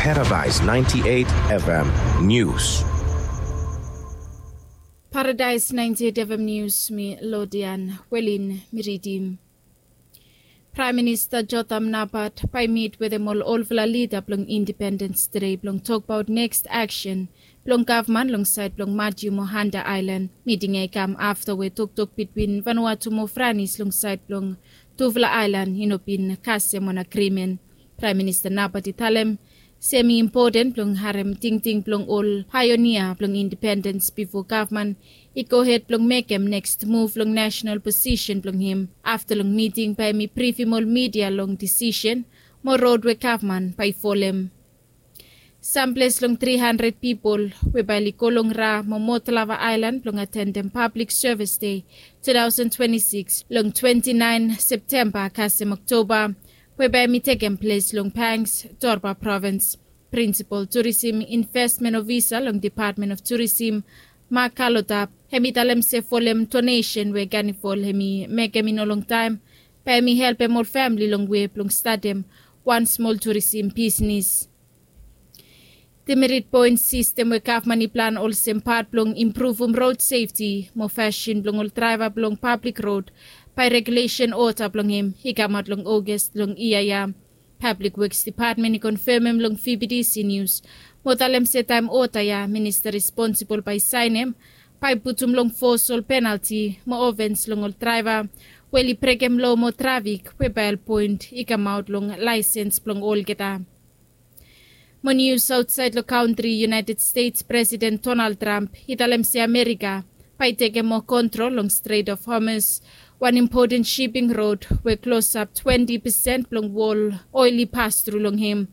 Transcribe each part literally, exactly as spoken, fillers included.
Paradise ninety-eight F M News. Paradise ninety-eight F M News, mi Lodian Welin mi ridim. Praem Minista Jotham Napat bae i mit wetem ol olfala lida blong Independens Dei blong tokbaot neks aksen blong gavman long saed blong Matthew mo Hunter Aelan. Miting ya i kam afta we toktok bitwin Vanuatu mo Franis long saed blong tufala aelan i no bin kasem wan agrimen. Praem Minista Napat i talem se hem i impoten blong harem tingting blong ol paeonia blong independens bifo gavman i gohed blong mekem neks muv long nasonal posisen blong hem. Afta long miting bae hem i brifim ol midia long disisen mo rod we gavman bae i folem. Samples long tri handred pipol we bae oli go long Ra mo Motlava Aelan blong atendem Pablik Sevis Dei tu taosen twenti sikis long twenti naen Septemba kasem Oktoba, we bae hem i tekem ples long Pangs, Torba Provins. Prinsipol Turisim Investmen Ofisa long Depatmen of Turisim, Mak Kalotap, hem i talem se folem donesen we Ganifol hem i mekem i no longtaem, bae hem i helpem ol famle long we blong statem wan smol turisim bisnis. Demerit poen sistem we gavman i plan olsem pat blong impruvum rod sefti mo fasin blong ol draeva blong pablik rod, bae regulesen oda blong hem i kamaot long Ogas long yia ya. Pablik Weks Depatmen i konfemem long V B T C Nius mo talem se taem oda ya minista responsibol bae i saenem, bae i putum long fos ol penalti mo ofens long ol draeva we oli brekem loa mo trafik we bael poen i kamaot long laesens blong olgeta. Mo nius aotsaed long kantri, United States Presiden Donald Trump i talem se Amerika bae i tekem moa kontrol long Strait of Hormuz, wan impoten siping rod we klosap twenti pesen blong wol oel i pastru long hem.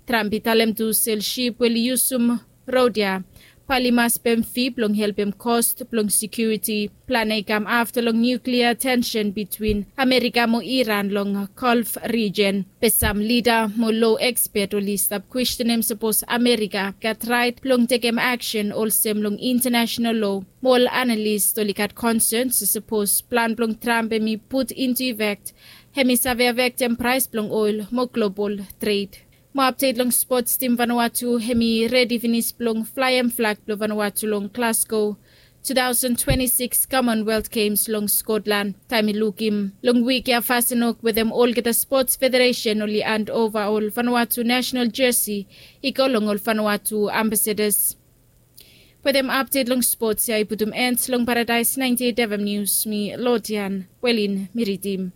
Trump i talem tu se ol sip we oli yusum rod ya bae oli mas pem fi blong helpem kos blong sekiuriti. Plan ya i kam afta long niuklia tensen bitwin Amerika mo Iran long Golf rijen. Be sam lida mo loa ekspet oli stap kwestenem sapos Amerika gat raet blong tekem aksen olsem long intanasenal loa. Mo ol analis oli gat konsen se sapos plan blong Trump hem i put into effect, hem i save afektem praes blong oel mo global tred. Mo apdet long spots, tim Vanuatu hem i redi finis blong flaem flag blong Vanuatu long Glasgow tu taosen twenti sikis Commonwealth Games long Scotland. Taem i lukim long wik ya fasin wok wetem olgeta spots federesen oli andova ol Vanuatu nasenal jesi i go long ol Vanuatu ambasadas. Wetem apdet long spots ya i putum en long Paradaes naenti eit F M Nius, mi Lodian Welin mi ridim.